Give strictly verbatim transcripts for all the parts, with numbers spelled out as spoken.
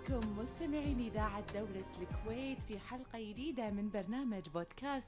بكم مستمعين إذاعة دولة الكويت في حلقة جديدة من برنامج بودكاست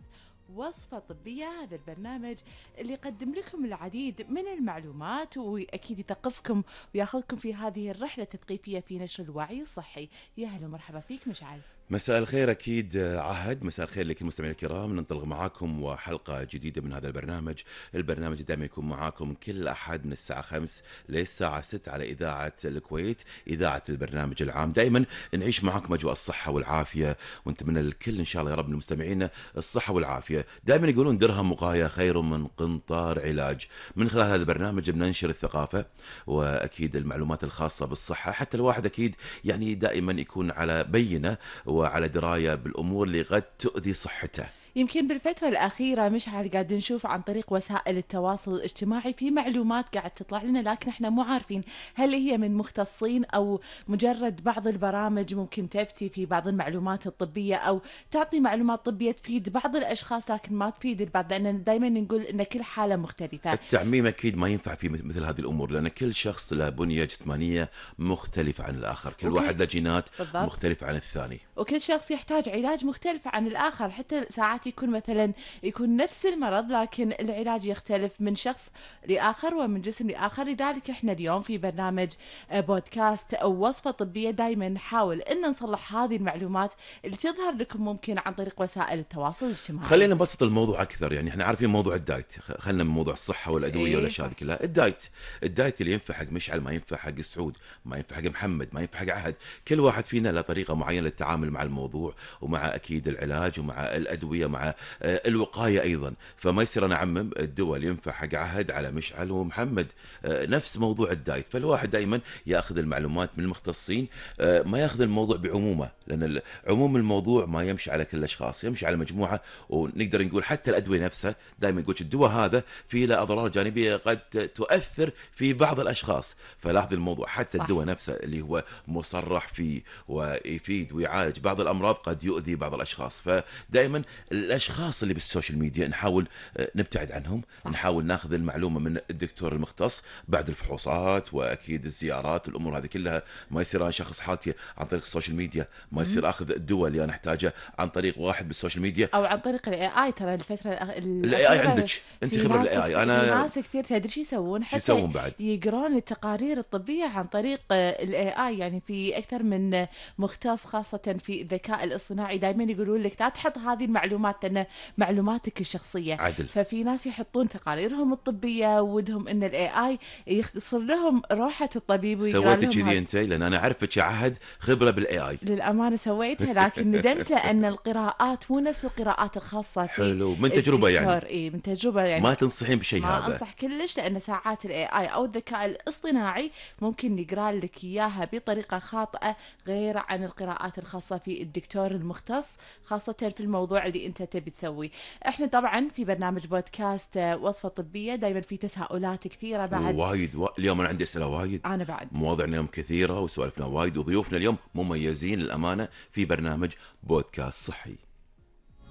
وصفة طبية. هذا البرنامج اللي يقدم لكم العديد من المعلومات وأكيد يثقفكم وياخذكم في هذه الرحلة التثقيفية في نشر الوعي الصحي. يا هلا ومرحبا فيك مشعل. مساء الخير أكيد عهد، مساء الخير لكل المستمعين الكرام. ننطلق معاكم وحلقة جديدة من هذا البرنامج. البرنامج دائما يكون معاكم كل أحد من الساعة خمس للساعة ست على إذاعة الكويت، إذاعة البرنامج العام. دائما نعيش معاكم أجواء الصحة والعافية، ونتمنى للكل إن شاء الله يا رب المستمعين الصحة والعافية. دائما يقولون درهم وقاية خير من قنطار علاج. من خلال هذا البرنامج بننشر الثقافة وأكيد المعلومات الخاصة بالصحة، حتى الواحد أكيد يعني دائما يكون على بينة وعلى دراية بالأمور اللي قد تؤذي صحته. يمكن بالفترة الأخيرة مشعل قاعد نشوف عن طريق وسائل التواصل الاجتماعي في معلومات قاعد تطلع لنا، لكن احنا مو عارفين هل هي من مختصين أو مجرد بعض البرامج ممكن تفتي في بعض المعلومات الطبية أو تعطي معلومات طبية تفيد بعض الأشخاص لكن ما تفيد البعض، لأن دائما نقول أن كل حالة مختلفة. التعميم أكيد ما ينفع في مثل هذه الأمور، لأن كل شخص له بنية جسمانية مختلفة عن الآخر، كل وكل... واحد له جينات بالضبط. مختلفة عن الثاني، وكل شخص يحتاج علاج مختلف عن الآخر. حتى ساعات يكون مثلا يكون نفس المرض لكن العلاج يختلف من شخص لآخر ومن جسم لآخر. لذلك احنا اليوم في برنامج بودكاست أو وصفة طبية دايما نحاول ان نصلح هذه المعلومات اللي تظهر لكم ممكن عن طريق وسائل التواصل الاجتماعي. خلينا نبسط الموضوع أكثر. يعني احنا عارفين موضوع الدايت، خلينا من موضوع الصحة والأدوية إيه والأشياء كلها. الدايت الدايت اللي ينفع حق مشعل ما ينفع حق سعود، ما ينفع حق محمد، ما ينفع حق عهد. كل واحد فينا له طريقة معينة للتعامل مع الموضوع ومع أكيد العلاج ومع الأدوية مع الوقاية أيضا. فما يصير أنا أعمم الدواء اللي ينفع حق عهد على مشعل ومحمد. نفس موضوع الدايت، فالواحد دائما يأخذ المعلومات من المختصين، ما يأخذ الموضوع بعمومه، لأن عموم الموضوع ما يمشي على كل الأشخاص، يمشي على مجموعة. ونقدر نقول حتى الأدوية نفسها دائما يقول الدواء هذا فيه له أضرار جانبية قد تؤثر في بعض الأشخاص. فلاحظ الموضوع حتى صح. الدواء نفسه اللي هو مصرح فيه ويفيد ويعالج بعض الأمراض قد يؤذي بعض الأشخاص. فدائما الأشخاص اللي بالسوشيال ميديا نحاول نبتعد عنهم، صح. نحاول ناخذ المعلومة من الدكتور المختص بعد الفحوصات وأكيد الزيارات. الأمور هذه كلها ما يصير أنا شخص حالتي عن طريق السوشيال ميديا، ما يصير أخذ الدواء اللي أنا أحتاجه عن طريق واحد بالسوشيال ميديا أو عن طريق الاي اي. ترى الفترة الاي اي عندك انت خبرة الاي اي. انا في ناس كثير تدري شو يسوون، حتى يقرون التقارير الطبية عن طريق الاي اي. يعني في أكثر من مختص خاصة في الذكاء الاصطناعي دائما يقولون لك لا تحط هذه المعلومات لأن معلوماتك الشخصية عدل. ففي ناس يحطون تقاريرهم الطبية ودهم ان الاي اي يختصر لهم روحة الطبيب ويقرا لهم. سويتي كذي انت؟ لان انا اعرفك يا عهد خبرة بالاي اي. للأمانة سويتها لكن ندمت لأن القراءات مو نفس القراءات الخاصة في حلو من تجربة يعني. إيه من تجربة يعني ما تنصحين بشيء هذا؟ ما أنصح كلش، لأن ساعات الاي اي أو الذكاء الاصطناعي ممكن يقرأ لك إياها بطريقة خاطئة غير عن القراءات الخاصة في الدكتور المختص، خاصة في الموضوع اللي أنت تبي تسوي. إحنا طبعا في برنامج بودكاست وصفة طبية دايما في تساؤلات كثيرة بعد وايد و... اليوم أنا عندي أسئلة وايد، أنا بعد مواضيعنا اليوم كثيرة وسوالفنا وايد وضيوفنا اليوم مميزين للأمانة في برنامج بودكاست صحي.